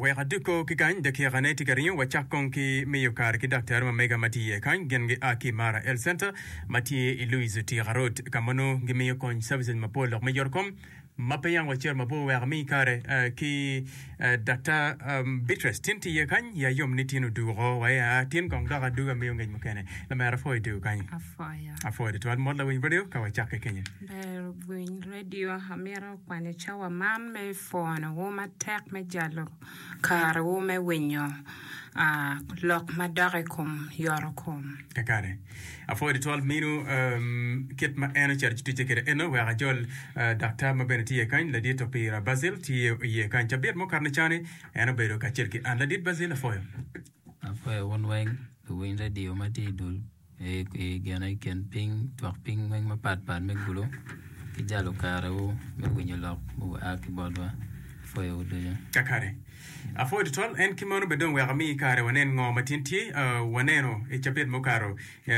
Wek aduko ki kany, dakikane tye ka ringo. Wacak kong ki miyo kare ki daktari ma mega ma tye iye kany. Gin gia ki i Mara Health Center ma tye i Louis Otika Road ka ma nongo gimiyo kony services mapol lok me yotkom. Ma pe yang wacito mabor wek ami kare ki Daktar Beatrice tin tye iye kany ya yom ni tin oduko wa ya tin kong dok adugo amiyo ngec mukene. Lamera apwoyo dugo kany. Apwoyo. Apwoyo tutwal mot lawiny radio ka wacakke kenyo. Ber winy radio amito kwanyo cawa man me pwonowu matek me jalo karewu me winyo lok madok i kom yotokom. Kakare. Apwoyo tutwal minu kit ma en ocito ci ticce kwede eno wek ajol daktar ma bene tye iye kany ladit Opira Basil tye iye kany cabit mukato cani en obedo kacel ki an ladit Basil apwoyo. Apwoyo wun weng luwiny radio ma tye i dul i gine i kin piny twak piny weng mapat pat me Gulu ki jalo karewu me winyo lok mua ki botwa apwoyowu ducu. Kakare. Apwoyo tutwal en ki meno bene dong wek ami kare wanen ngo ma tin tye waneno i cabit mukato.